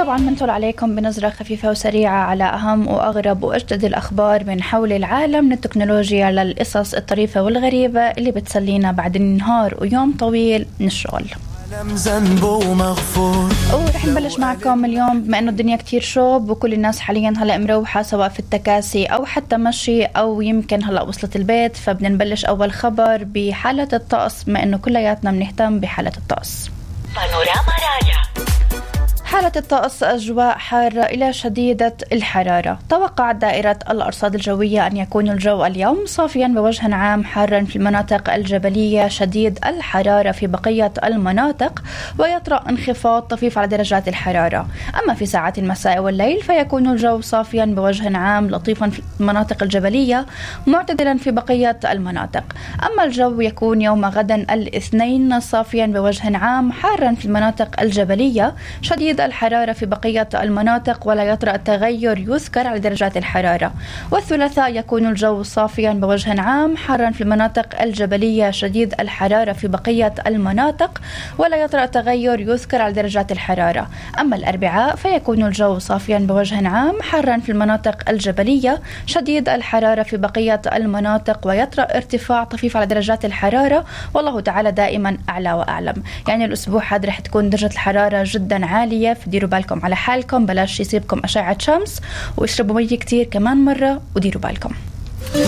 طبعا بنطل عليكم بنظرة خفيفة وسريعة على أهم وأغرب وأجدد الأخبار من حول العالم، من التكنولوجيا للقصص الطريفة والغريبة اللي بتسلينا بعد النهار ويوم طويل من الشغل. ورح نبلش معكم اليوم بما انه الدنيا كتير شوب وكل الناس حاليا هلا مروحة سواء في التكاسي او حتى مشي او يمكن هلا وصلت البيت، فبدنا نبلش اول خبر بحالة الطقس بما انه كلياتنا بنهتم بحالة الطقس. بانوراما رايا. حالة الطقس أجواء حارة إلى شديدة الحرارة. توقعت دائرة الأرصاد الجوية أن يكون الجو اليوم صافيا بوجه عام، حارا في المناطق الجبلية، شديد الحرارة في بقية المناطق، ويطرأ انخفاض طفيف على درجات الحرارة. أما في ساعات المساء والليل فيكون الجو صافيا بوجه عام، لطيفا في المناطق الجبلية، معتدلا في بقية المناطق. أما الجو يكون يوم غدا الاثنين صافيا بوجه عام، حارا في المناطق الجبلية، شديد الحرارة في بقية المناطق، ولا يطرأ تغير يذكر على درجات الحرارة. والثلاثاء يكون الجو صافيا بوجه عام، حارا في المناطق الجبلية، شديد الحرارة في بقية المناطق، ولا يطرأ تغير يذكر على درجات الحرارة. أما الأربعاء فيكون الجو صافيا بوجه عام، حارا في المناطق الجبلية، شديد الحرارة في بقية المناطق، ويطرأ ارتفاع طفيف على درجات الحرارة، والله تعالى دائما أعلى وأعلم. يعني الأسبوع هذا رح تكون درجة الحرارة جدا عالية، فديروا بالكم على حالكم، بلاش يصيبكم أشعة شمس، واشربوا مية كتير كمان مرة، وديروا بالكم.